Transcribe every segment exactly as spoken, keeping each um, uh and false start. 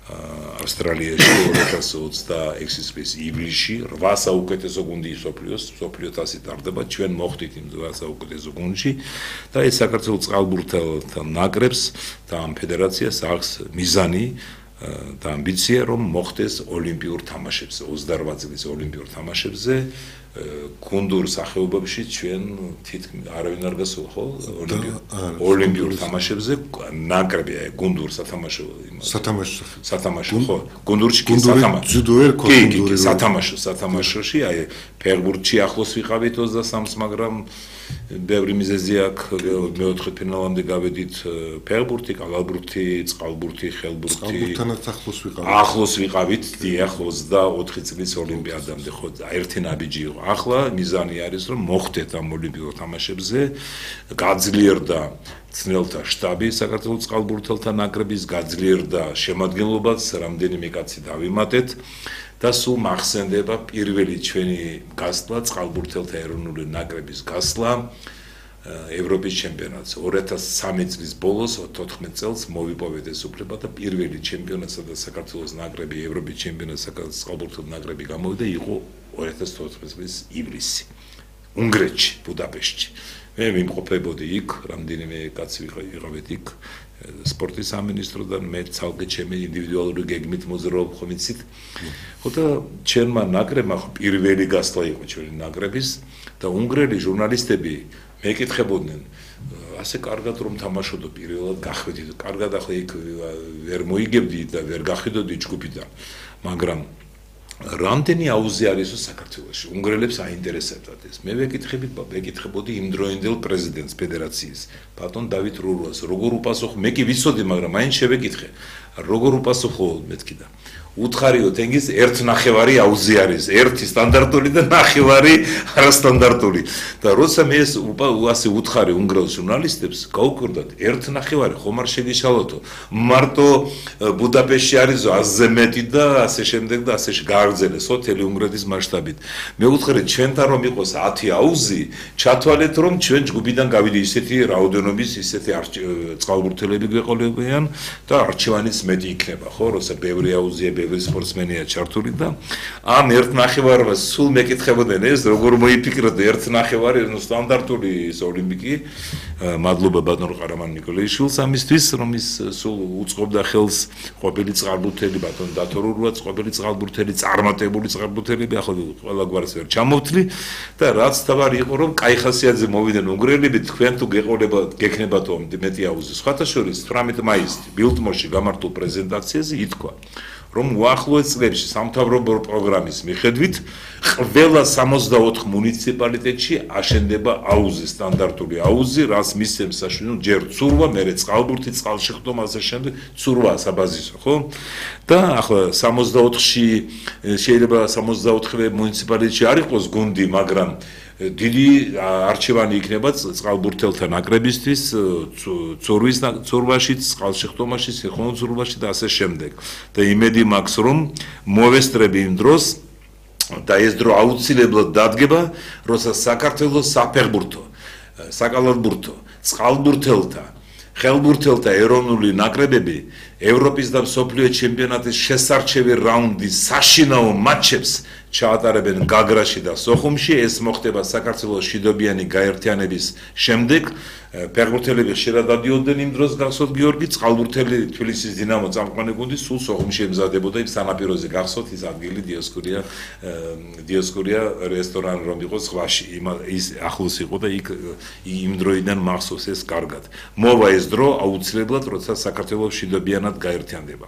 ავსტრალიაში ორი ათას ოცდაექვსის წლის ივლისში რვა საუკეთესო გუნდი მსოფლიოს მსოფლიო თასი ტარდება ჩვენ მოხდით იმ რვა საუკეთესო გუნდში და ეს საქართველოს წყალბურთელთა ნაკრებს და ამ ფედერაციას აქვს მიზანი და ამბიცია რომ მოხდეს ოლიმპიურ თამაშებზე ოცდარვა წლის ოლიმპიურ თამაშებზე გუნდურ სახეობებში ჩვენ თითქმის არავინ არ გასულა ხო ოლიმპიურ თამაშებზე ნაკრებია გუნდურ სათამაშო სათამაშო სათამაშო ხო გუნდურში კი სათამაშო ჯუდო ვერ ხო გუნდური სათამაშო სათამაშოში აი ფეხბურთში ახლოს ვიყავით ოცდასამს მაგრამ ბევრი მიზეზი აქვს მეოთხე ფინალამდე გავედით ფეხბურთი, კალათბურთი, წყალბურთი, ხელბურთი. წყალბურთთანაც ახლოს ვიყავით. ახლოს ვიყავით, დიახ, ოცდაოთხი წლის ოლიმპიადამდე ხო ერთი ნაბიჯი იყო. ახლა მიზანი არის რომ მოხდეთ ამ ოლიმპიურ თამაშებზე, გაძლიერდა ცნელთა შტაბი საქართველოს წყალბურთელთა ნაკრების, გაძლიერდა შემადგენლობაც, რამდენიმე კაცი დავიმატეთ. და სულ მახსენდება პირველი ჩვენი გასვლა წყალბურთელთა ეროვნული ნაკრების გასვლა ევროპის ჩემპიონატს ორი ათას სამი წლის ბოლოს თოთხმეტ წელს მოვიპოვეთ ეს უფლება და პირველი ჩემპიონატი სადაც საქართველოს ნაკრები ევროპის ჩემპიონატს წყალბურთელთა ნაკრები გამოვიდა იყო ორი ათას თოთხმეტ წლის ივლისი უნგრეთში ბუდაპეშტში მე მიმყოფებოდი იქ რამდენიმე კაცი ვიყავით იქ სპორტის სამინისტროდან მე ცალკე ჩემი ინდივიდუალური გეგმით მოძრაობ ხომ იცით ხო და ჩვენმა ნაკრებმა პირველი გასვლა იყო ჩვენი ნაკრების და უნგრელი ჟურნალისტები მეკითხებოდნენ ასე კარგად რომ თამაშობდო პირველად გახვიდით კარგად ახლა იქ ვერ მოიგებდი და ვერ გახვიდოდი ჯგუფიდან მაგრამ რამდენი აუზი არისო საქართველოში უნგრელებს აინტერესებდათ ეს მე ვეკითხები ვეკითხებოდი იმ დროინდელ პრეზიდენტს ფედერაციის ბატონ დავით რურვას როგორ უპასუხო მე კი ვიცოდი მაგრამ მაინც შევეკითხე როგორ უპასუხო მეთქი და უთხარიო თენგის ერთ ნახევარი აუზი არის ერთი სტანდარტული და ნახევარი არასტანდარტული და როცა მე ეს ასე უთხარი უნგრელ ჟურნალისტებს გაუკვირდათ ერთ ნახევარი ხომ არ შეგიშალოთო მარტო ბუდაპეშტში არის ათზე მეტი და ასე შემდეგ და ასე გააგრძელეს ოტელი უნგრეთის მასშტაბით მე უთხარი ჩვენთან რომ იყოს ათი აუზი ჩათვალეთ რომ ჩვენ ჯგუფიდან გავიდი ისეთი რაოდენობის ისეთი წყალბურთელები გვეყოლებიან და არჩევანიც მეტი იქნება ხო როცა ბევრი აუზია ბევრი სპორტსმენია ჩართული და ამ ერთ ნახევარს სულ მეკითხებოდნენ ეს როგორ მოიფიქროთ ერთ ნახევარი ნუ სტანდარტული ის ოლიმპიკი მადლობა ბატონ ყარამან ნიკოლაიშვილს ამისთვის რომ ის სულ უწყობდა ხელს ყოფილი წყალბურთელი ბატონ დათორურვაც ყოფილი წყალბურთელი წარმატებული წყალბურთელები ახლა ყველა გვარს ვერ ჩამოვთვლი და რაც თავარი იყო რომ კაი ხასიათზე მოვიდნენ უნგრელები თქვენ თუ გეყოლება გექნებათო მეტი აუზი სხვათა შორის თვრამეტ მაისს ბილტმორში გამართულ პრეზენტაციაზე ითქვა რომ უახლოეს წლებში სამთავრობო პროგრამის მიხედვით ყველა სამოცდაოთხ მუნიციპალიტეტში აშენდება აუზი სტანდარტული აუზი რაც მისცემს საშუალებას ჯერ ცურვა მერე წყალბურთი წყალშეხტომა ასე შემდეგ ცურვა საბაზისო ხო და ახლა სამოცდაოთხში შეიძლება სამოცდაოთხ მუნიციპალიტეტში არ იყოს გუნდი მაგრამ დიდი არჩევანი იქნება წყალბურთელთა ნაკრებისთვის ცურვის ცურვაში წყალშეხტომაში სიხონო ცურვაში და ასე შემდეგ და იმედი მაქვს რომ მოვესწრები იმ დროს და ეს დრო აუცილებლად დადგება როცა საქართველოს საფეხბურთო საკალათბურთო წყალბურთელთა ხელბურთელთა ეროვნული ნაკრებები ევროპის და მსოფლიო ჩემპიონატის შესარჩევი რაუნდის საშინაო მატჩებს ჩაატარებენ გაგრაში და სოხუმში ეს მოხდება საქართველოს შიდობიანი გაერთიანების შემდეგ ფეხბურთელები ხშირად დადიოდნენ იმ დროს გახსოვთ გიორგი წყალბურთელი თბილისის დინამო წამყვანი გუნდი სულ სოხუმში ემზადებოდა იმ სანაპიროზე გახსოვთ ის ადგილი დიოსკურია დიოსკურია რესტორანი რომ იყო ზღვაში ის ახლოს იყო და იქ იმ დროიდან მახსოვს ეს კარგად მოვა ეს დრო აუცილებლად როცა საქართველოს შიდობიანად გაერთიანდება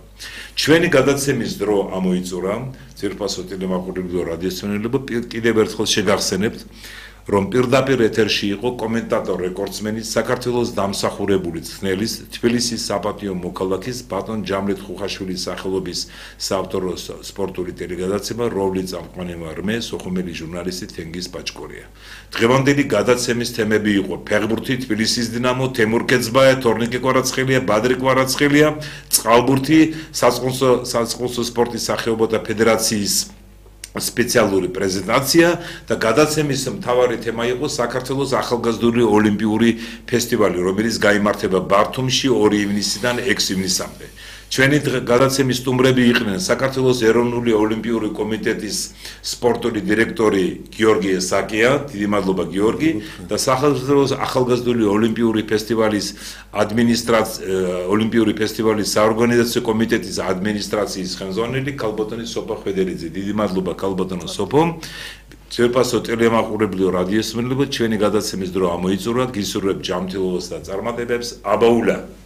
ჩვენი გადაცემის დრო ამოიწურა ძირფასო ტელემაყურებელო რადიოსმენელებო კიდევ ერთხელ შეგახსენებთ რომ პირდაპირ ეთერში იყო კომენტატორ რეკორდსმენის საქართველოს დამსახურებული ცნელის თბილისის საპატიო მოქალაქის ბატონ ჯამრეთ ხუხაშვილის სახელობის საავტორო სპორტული ტელეგადაცემა რომლის წამყვანი ვარ მე სოხუმელი ჟურნალისტი თენგიზ პაჭკორია დღევანდელი გადაცემის თემები იყო ფეხბურთი თბილისის დინამო თემურ კეცბაია თორნიკე კვარაცხელია ბადრი კვარაცხელია წყალბურთი საწყლოსო საწყლოსო სპორტის სახეობათა ფედერაციის სპეციალური პრეზენტაცია და გადაცემის მთავარი თემა იყო საქართველოს ახალგაზრდული ოლიმპიური ფესტივალი, რომელიც გაიმართება ბართუმში ორი ივნისიდან ექვსი ივნისამდე. ჩვენი გადაცემის სტუმრები იყვნენ საქართველოს ეროვნული ოლიმპიური კომიტეტის სპორტული დირექტორი გიორგი ესაკია, დიდი მადლობა გიორგი და საქართველოს ახალგაზრდული ოლიმპიური ფესტივალის ადმინისტრაცია ოლიმპიური ფესტივალის საორგანიზაციო კომიტეტის ადმინისტრაციის ხელმძღვანელი ქალბატონი სოფო ხვედერიძე. დიდი მადლობა ქალბატონო სოფო. Ძვირფასო ტელემაყურებლიო რადიოსმენლებო, ჩვენი გადაცემის დრო ამოიწურა, გისურვებთ ჯანმრთელობას და წარმატებებს. აბაულა.